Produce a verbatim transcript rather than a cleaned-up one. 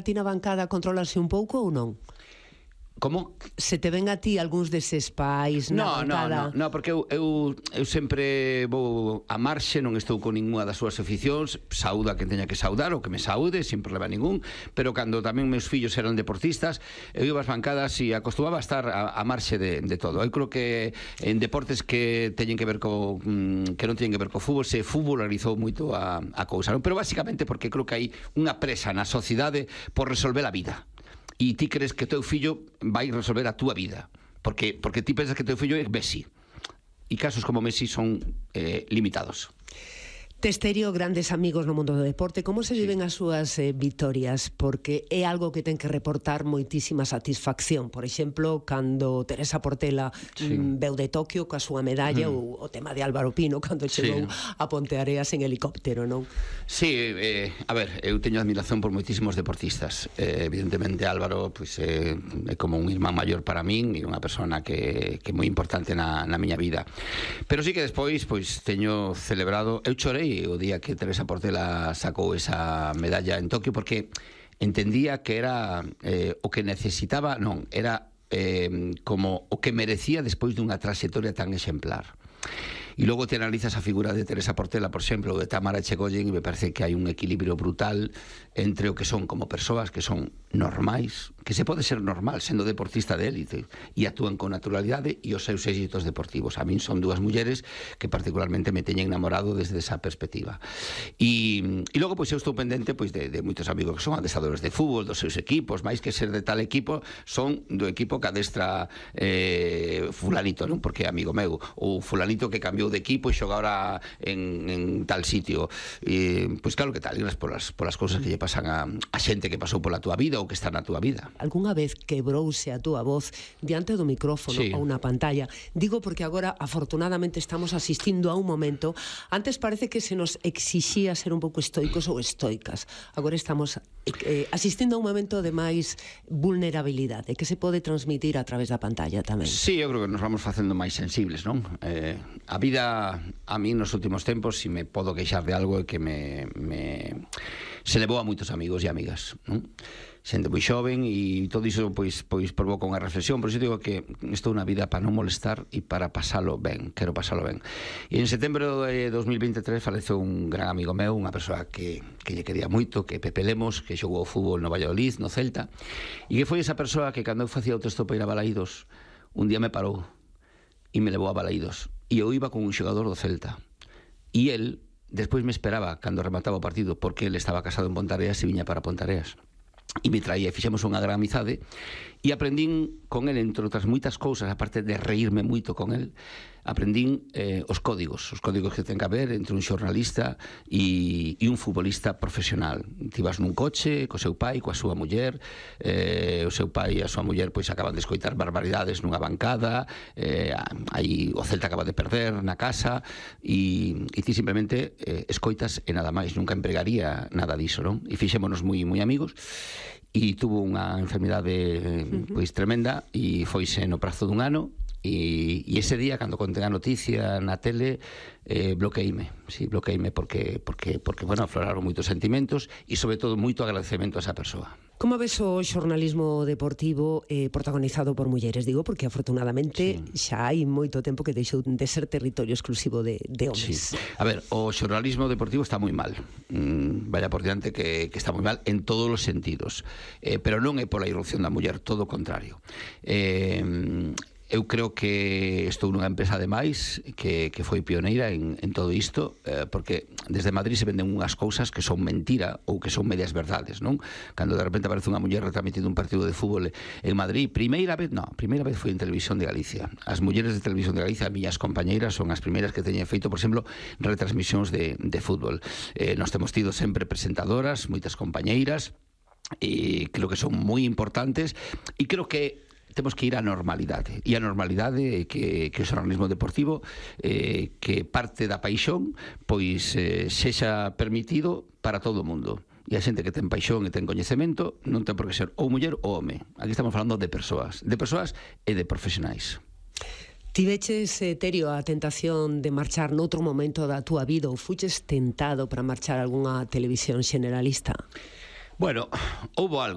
ti na bancada controlarse un pouco ou non? Como? Se te ven a ti algúns deses pais na no, bancada? No, no, no, porque eu, eu, eu sempre vou a marxe, non estou con ninguna das súas aficións, sauda que teña que saudar, ou que me saude, sin problema ningún, pero cando tamén meus fillos eran deportistas, eu iba ás bancadas e acostumaba a estar a, a marxe de, de todo. Eu creo que en deportes que teñen que ver co, que non teñen que ver co fútbol, se futbolarizou moito a, a cousa, non? Pero basicamente porque creo que hai unha presa na sociedade por resolver a vida. E ti crees que o teu fillo vai resolver a túa vida, porque porque ti pensas que o teu fillo é Messi, e casos como Messi son eh, limitados. Tes, Terio, grandes amigos no mundo do deporte. Como se viven as súas eh, vitorias? Porque é algo que ten que reportar moitísima satisfacción. Por exemplo, cando Teresa Portela sí. mm, veu de Tokio coa súa medalla, mm. ou o tema de Álvaro Pino cando chegou sí. a Ponteareas en helicóptero, non? Sí, eh, a ver, eu teño admiración por moitísimos deportistas. Eh, evidentemente Álvaro pues, eh, é como un irmán maior para min e unha persona que, que é moi importante na, na miña vida. Pero sí que despois pues, teño celebrado, eu chorei o día que Teresa Portela sacou esa medalla en Tokio, porque entendía que era eh, o que necesitaba, non, era eh, como o que merecía despois dunha trayectoria tan exemplar. E logo te analizas a figura de Teresa Portela, por exemplo, ou de Tamara Echegoyen, e me parece que hai un equilibrio brutal entre o que son como persoas que son normais, que se pode ser normal sendo deportista de élite e actúan con naturalidade, e os seus éxitos deportivos. A min son dúas mulleres que particularmente me teñen enamorado desde esa perspectiva. E, e logo, pois, eu estou pendente pois, de, de moitos amigos que son adestradores de fútbol, dos seus equipos, máis que ser de tal equipo, son do equipo que adestra eh, fulanito, non? Porque é amigo meu, ou fulanito que cambiou de equipo e xoga ahora en, en tal sitio. E, pois claro que tal, e polas, polas cousas que lle pasan a, a xente que pasou pola túa vida ou que está na túa vida. Algúnha vez quebrouse a túa voz diante do micrófono sí. ou na pantalla? Digo porque agora, afortunadamente, estamos asistindo a un momento. Antes parece que se nos exixía ser un pouco estoicos ou estoicas. Agora estamos eh, asistindo a un momento de máis vulnerabilidade que se pode transmitir a través da pantalla tamén. Sí, eu creo que nos vamos facendo máis sensibles, non? Eh, a vida a mí nos últimos tempos, si me podo queixar de algo, é que me, me se levou a moitos amigos e amigas, non? Xente moi xoven e todo iso pois, pois provoca unha reflexión. Por iso digo que estou na vida para non molestar e para pasalo ben, quero pasalo ben. E en setembro de dos mil veintitrés faleceu un gran amigo meu, unha persoa que, que lle quería moito, que Pepe Lemos, que xogou fútbol no Valladolid, no Celta, e que foi esa persoa que cando eu facía o texto para ir a Balaídos, un día me parou e me levou a Balaídos. E eu iba con un xogador do Celta. E el, despois me esperaba cando remataba o partido, porque ele estaba casado en Pontareas e viña para Pontareas. E me traía, fixemos unha gran amizade, e aprendín con el, entre outras moitas cousas, aparte de reírme moito con el, aprendín eh, os códigos, os códigos que ten que haber entre un xornalista e, e un futbolista profesional. Ti vas nun coche co seu pai, coa súa muller, eh, o seu pai e a súa muller pois acaban de escoitar barbaridades nunha bancada, eh, aí o Celta acaba de perder na casa, e, e ti simplemente eh, escoitas e nada máis, nunca empregaría nada diso, non? E fixémonos moi moi amigos, e tuvo unha enfermidade pois tremenda e foise no prazo dun ano. E, e ese día, cando contén a noticia na tele, eh, bloqueíme, sí, bloqueíme porque, porque, porque, bueno, afloraron moitos sentimentos e, sobre todo, moito agradecemento a esa persoa. Como ves o xornalismo deportivo eh, protagonizado por mulleres? Digo, porque afortunadamente sí. xa hai moito tempo que deixou de ser territorio exclusivo de, de homes. Sí. A ver, o xornalismo deportivo está moi mal. Mm, vaya por diante que, que está moi mal en todos os sentidos. Eh, pero non é pola irrupción da muller, todo o contrario. Eh... Eu creo que estou nunha empresa ademais que, que foi pioneira en, en todo isto, eh, porque desde Madrid se venden unhas cousas que son mentira ou que son medias verdades, non? Cando de repente aparece unha muller retransmitindo un partido de fútbol en Madrid, primeira vez, non, primeira vez foi en Televisión de Galicia. As mulleres de Televisión de Galicia, as miñas compañeiras, son as primeiras que teñen feito, por exemplo, retransmisións de, de fútbol. Eh, nós temos tido sempre presentadoras, moitas compañeiras, e creo que son moi importantes, e creo que temos que ir á normalidade, e a normalidade é que, que o xornalismo deportivo eh, que parte da paixón pois eh, sexa permitido para todo o mundo, e a xente que ten paixón e ten coñecemento non ten por que ser ou muller ou home. Aquí estamos falando de persoas, de persoas e de profesionais. Tiveches, eh, Terio, a tentación de marchar noutro momento da túa vida, ou fuches tentado para marchar a algunha televisión generalista? Bueno, houbo algo